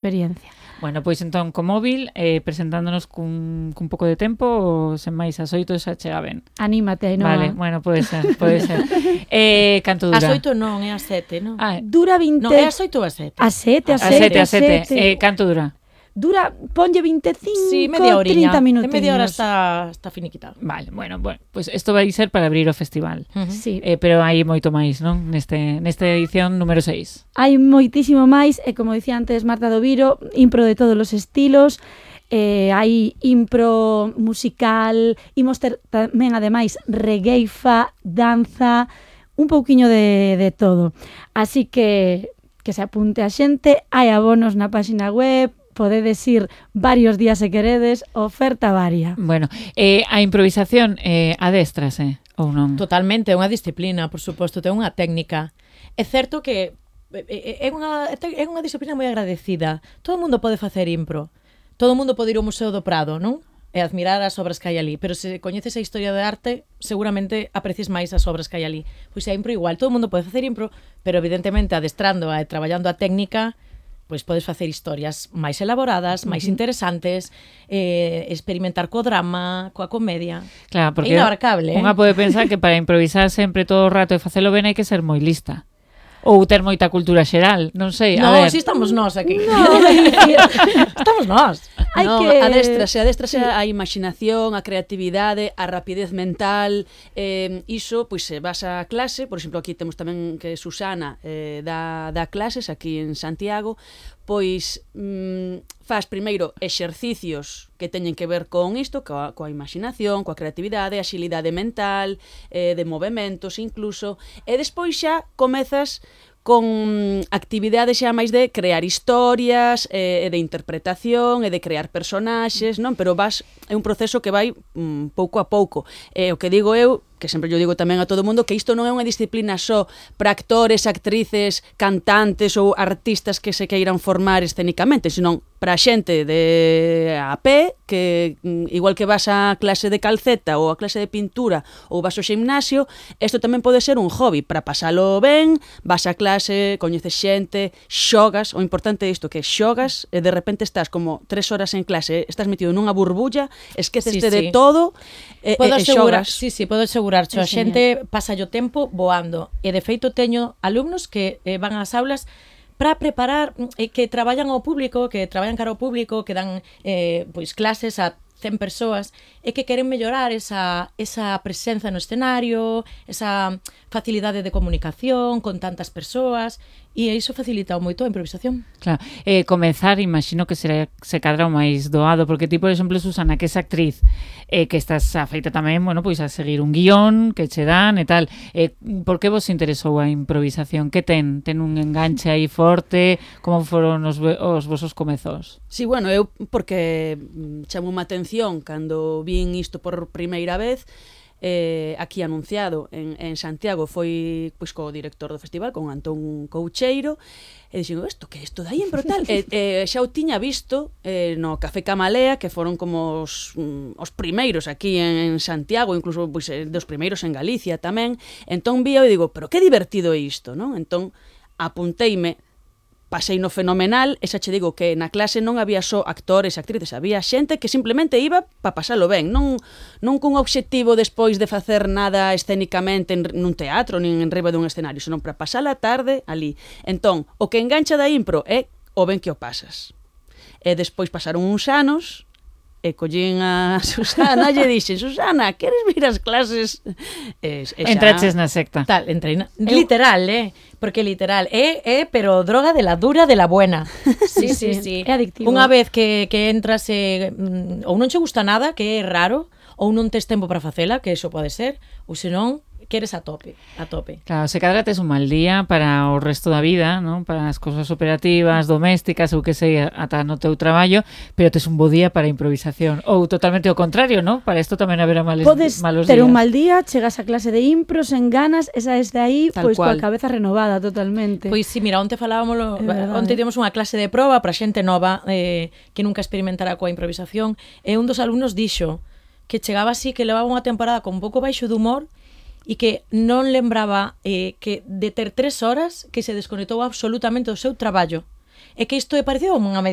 experiencia. Bueno, pois entón, co móvil, presentándonos cun pouco de tempo, ou sen máis, as 8 xa chega ben. Anímate, Ainhoa. Vale, bueno, pode ser. Canto dura? As 8 non, é as 7, non? Dura 20... Non, é as 8 ou as 7? A 7, a 7. Canto dura? Dura, ponlle 25, sí, media horiña. 30 minutos. En media hora está finiquitado. Vale, bueno, pois isto vai ser para abrir o festival. Sí. Pero hai moito máis, non? Nesta edición número 6. Hai moitísimo máis, e como dicía antes Marta Doviro, impro de todos os estilos, hai impro musical, imos ter tamén ademais regueifa, danza, un pouquiño de todo. Así que se apunte a xente, hai abonos na páxina web, podedes ir varios días se queredes, oferta varia. Bueno, a improvisación adestrase ou non? Totalmente, é unha disciplina, por suposto, ten unha técnica. É certo que é unha disciplina moi agradecida. Todo o mundo pode facer impro. Todo o mundo pode ir ao Museo do Prado, non? E admirar as obras que hai ali. Pero se coñeces a historia de arte, seguramente aprecies máis as obras que hai ali. Pois a impro igual, todo o mundo pode facer impro, pero evidentemente adestrando e traballando a técnica, pois podes facer historias máis elaboradas, máis interesantes, experimentar co drama, coa comedia. Claro, porque é inabarcable, unha pode pensar que para improvisar sempre todo o rato e facelo ben hai que ser moi lista. Ou ter moita cultura xeral, non sei, a ver. Si estamos nós aquí. No, estamos nós. Non, adestrase a imaginación, a creatividade, a rapidez mental, iso, pois se vas a clase, por exemplo, aquí temos tamén que Susana dá clases aquí en Santiago, pois faz primeiro exercicios que teñen que ver con isto, coa imaginación, coa creatividade, axilidade mental, de movementos incluso, e despois xa comezas con actividades xa máis de crear historias, e de interpretación, e de crear personaxes, non? Pero é un proceso que vai pouco a pouco. O que digo eu, que sempre yo digo tamén a todo mundo, que isto non é unha disciplina só para actores, actrices, cantantes ou artistas que se queiran formar escénicamente, senón para xente de a pé, que igual que vas a clase de calceta ou a clase de pintura ou vas ao gimnasio, isto tamén pode ser un hobby para pasalo ben, vas a clase, coñeces xente, xogas, o importante é isto, que xogas e de repente estás como 3 horas en clase, estás metido nunha burbulla, esqueceste de todo e xogas. Podo asegurar, a xente pasa o tempo voando, e de feito teño alumnos que van ás aulas para preparar, que traballan ao público, que traballan cara ao público, que dan pois clases a 100 persoas e que queren mellorar esa presenza no escenario, esa facilidade de comunicación con tantas persoas, e iso facilita moito a improvisación. Claro, comezar, imagino que se cadra o máis doado, porque ti, por exemplo, Susana, que é actriz, que estás afeita tamén, bueno, pois a seguir un guión que che dan e tal, por que vos interesou a improvisación? Que ten? Ten un enganche aí forte? Como foron os vosos comezos? Sí, bueno, eu porque chamou má atención cando vin isto por primeira vez, aquí anunciado en Santiago, foi pois co director do festival, con Antón Coucheiro, e dixen, isto dai en brutal. Xa o tiña visto no Café Camalea, que foron como os primeiros aquí en Santiago, incluso pois, dos primeiros en Galicia tamén. Entón vía e digo, pero que divertido é isto, non? Entón apunteime, pasei no fenomenal, e xa che digo que na clase non había só actores e actrices, había xente que simplemente iba para pasalo ben, non cun obxectivo despois de facer nada escénicamente nun teatro, nin en riba dun escenario, senón para pasar a tarde ali. Entón, o que engancha da impro é o ben que o pasas. E despois pasaron uns anos, e collín a Susana e lle dixen, Susana, queres vir ás clases? Entraches na secta. Tal, entrei literal, porque literal, pero droga de la dura, de la buena. Sí. É adictivo. Unha vez que entras, ou non che gusta nada, que é raro, ou non tes tempo para facela, que iso pode ser, ou senón, queres a tope. Claro, se cadra tes un mal día para o resto da vida, non? Para as cousas operativas, domésticas, ou que sei, ata no teu traballo, pero tes un bo día para a improvisación. Ou totalmente o contrario, non? Para isto tamén haberá malos días. Podes ter un mal día, chegas a clase de impro, sen ganas, esa es de aí, pois coa cabeza renovada totalmente. Pois si, mira, onte falábamoslo, onte tivemos unha clase de proba para xente nova que nunca experimentara coa improvisación, e un dos alumnos dixo que chegaba así, que levaba unha temporada con un pouco baixo de humor, e que non lembraba que de ter 3 horas que se desconectou absolutamente do seu traballo. é que isto é parecido a unha